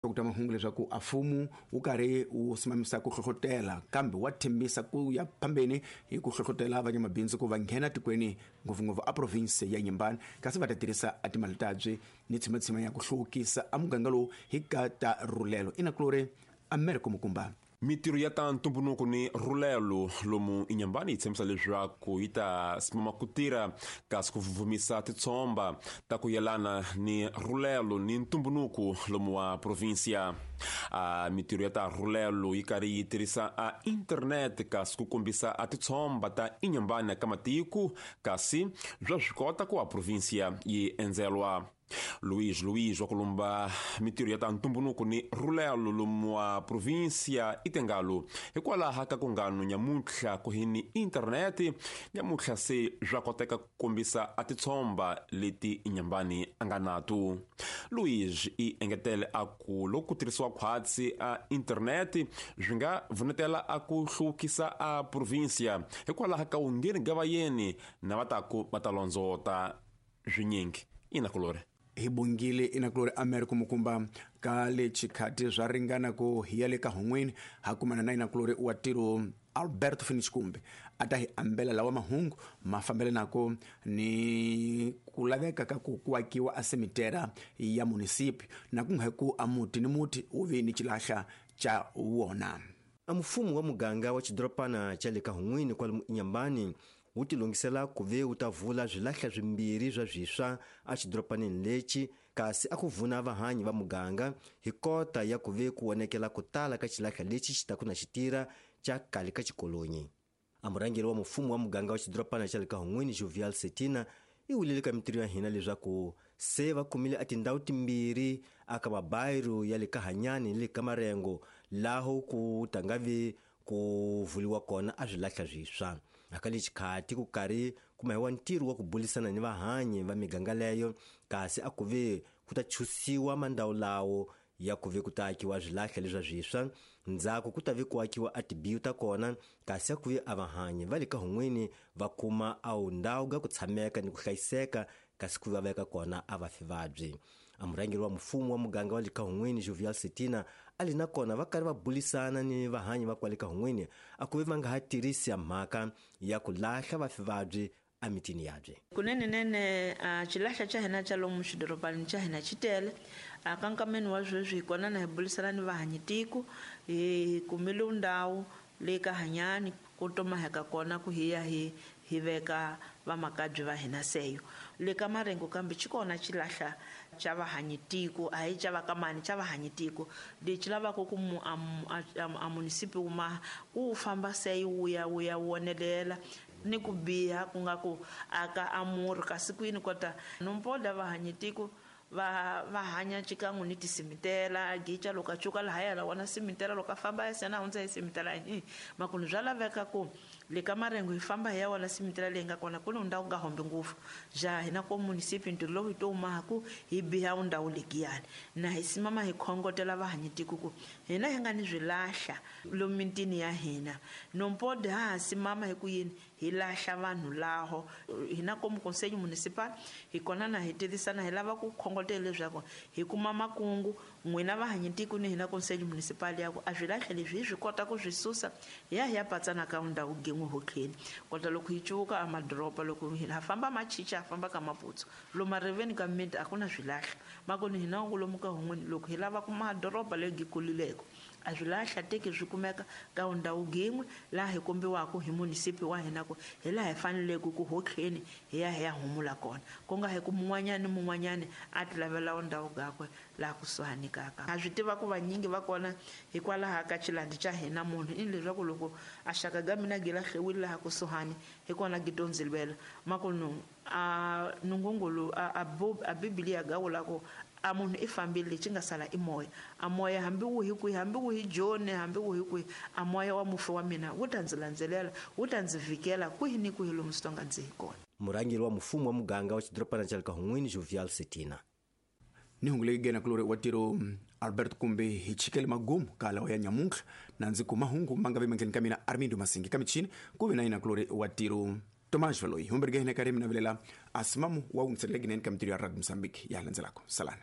Ku ta mahungu leswaku a mfumo wu karhi wu simamisa ku hlohlotela kambe wa tshembisa ku ya phambeni hi ku hlohlotela vanyamabindzu ku va nghena tikweni, ngopfungopfu a province ya Inhambane, kasi va ta tirhisa a timali tabye ni tshimatshima ya ku hluvukisa a muganga lowu hi ka ta rhulelo. Inakulori Americo Mukumba. Mitirho ya ta ntumbuluko ni rhulelo lomu Inhambane yi tshembisa leswaku yi ta simama ku tirha kasi ku vuvumisa titshomba ta ku yelana ni rhulelo ni ntumbuluko lomu wa provinsia. A mitirho ya ta rhulelo yi karhi yi tirhisa a internet kasi ku kombisa a titshomba ta Inhambane ka matiko, kasi bya swi kota ku a provinsia yi endzelwa. Luís Luís wa kulumba mitirho ya ta ntumbuluko ni rhulelo lomu wa provinsia itengalo hikwalaho ka ku ngano nyamuntlha ku hi ni internete nyamuntlha se swa koteka ku kombisa a titshomba leti Inhambane a nga nato. Luís i engetele a ku loko ku tirhisiwa khwatsi a internete swi nga vunetela a ku hluvukisa a provinsia hikwalaho ka wungeni ga vayeni na va taku va ta londzota swinyingi. Inakulori hi bongile Inakulori Americo Mukumba. Ka le chikhati swa ringana ku hi ya le ka hun'wini ha kumana na Inakulori wa tiro Alberto Finish kumbe a ta hi ambela lawa mahungu ma fambelanako ni ku laveka ka ku kuakiwa a semitera ya munisipi na ku nga ku a muti ni muti wu vi ni xilahla xa wona. A mfumo wa muganga wa xidorobana xa le ka hun'wini kwalomu Inhambane wu tilungisela ku ve wu ta vula swilahla swimbirhi swa swiswa exidorobaneni lexi, kasi a ku vuna vahanyi va muganga hi kota ya ku ve ku vonekela ku tala ka xilahla lexi xi taku na xitira xa kale ka xikolonyi. A murhangeri wa mfumo wa muganga wa xidorobana xa le ka hun'wini Jovial Setina i wulile ka mitirho ya hina leswaku se va kumile a tindhawu timbirhi aka mabayiro ya le ka Hanyani ni le ka Marengo laho ku ta nga vi ku vuliwa kona a swilahla swiswa. Aka le xikhati ku karhi ku mahiwa ntirho wa ku bulisana ni vahanyi va miganga leyo, kasi a ku ve ku ta chusiwa mandhawu lawo ya ku ve ku ta akiwa swilahla leswa swiswa, ndzhaku ku ta ve ku akiwa a tibiyu ta kona, kasi a ku ve a vahanyi va le ka hun'wini va kuma a wu ndhawu ga ku tshameka ni ku hlayiseka, kasi ku va veka kona a va fi vabyi. A murhangeri wa mfumo wa muganga wa le ka hun'wini Jovial Setina a li na kona va karhi va bulisana ni vahanyi va kwale ka hun'wini a ku ve va nga ha tirhisi ya mhaka ya ku lahla vafi vabyi emitini yabye. Kunene a xilahla xa hina xa lomu xidorobanini xa hina xi tele. A ka nkameni wa sweswi hi kona na hi bulisana ni vahanyi tiko, hi kumile ndhawu leyi ka Hanyani ku tomaheka kona ku hi ya hi veka vamakabye va hina seyo. Le ka Marengo kambe xi kona xilahla xa vahanyi tiko, a hi xa va ka mani, xa vahanyi tiko lexi lavaka ku a munisipi wu maha ku wu famba seyo wu ya wu ya wonelela ni ku biha ku nga ku aka amuri, kasi kwini kota nompoda vahanyi tiko va hanya xikan'we ni tisimitela gicha loko a cuka lahaya la wona simitela loko a famba ya sena hundza hi simitela hi makunu bya laveka ku le ka Marengo hi famba hi ya wona simitela leyi nga kona ku ni ndhawu nga hombi ngopfu ja hina ko munisipi ntirho lowu hi to maha ku hi biha ndhawu legiyani na hi simama hi khongotela vahanyi tiko ku hina hi nga ni swilahla lomu mitini ya hina nompode ha ha simama hi ku yini hi lahla vanhu laho hina komu conseil municipal hi kona na hi tirhisana hi lava ku khongotela leswaku hi kuma makungu n'wina vahanyi tiko ni hina conseil municipal ya ku a swilahla leswi hi swi kota ku swi susa hi ya hi ya patsana ka ndhawu gin'we hotleni kota loko hi cuvuka a madoroba loko ha famba machicha ha famba ka Maputsu lomu mariveni ka miti a ku na swilahla makoni hina lomu ka hun'wini loko hi lava ku madoroba leyi kulileko a swilahla teki swi kumeka ka ndhawu gin'we laha hi kombiwaka hi munisipi wa hina ku hi laha hi faneleke ku hotleni hi ya hi ya humula kona ku nga hi ku mun'wanyani ni mun'wanyani a ti lavela ndhawu gakwe laha kusuhani kaka. Ha swi tiva ku vanyingi va kona hikwalaho ka xilandi xa hina munhu i leswaku loko a xaka ga mina gi lahliwile laha kusuhani hi kona gi to ndzi lwela makunu a nungungulu a bibiliya ga vula ku a munhu i fambile lexi nga sala i moya, a moya hambi wu hi kwihi, hambi wu hi Joni, hambi wu hi kwihi, a moya wa mufi wa mina wu ta ndzi landzelela, wu ta ndzi vhikela kwihi ni kwihi lomu swi tonga ndzi hi kona. Murhangeri wa mfumo wa muganga wa xidorobana xa le ka hun'wini Jovial Setina. Ni hungu leyi gena kulori wa tiro Albert kumbe hi chikele magumu ka lawa ya nyamuntlha na ndzi kuma hungu ma nga vi mandleni ka mina Armindo Masingi ka michini ku vi na yina kulori wa tiro Tomás Valoyi humberge hina karhi mina vilela asimamu wa wungiselela ginene ka mitirho ya Radio Mozambique ya landzelako. Salani.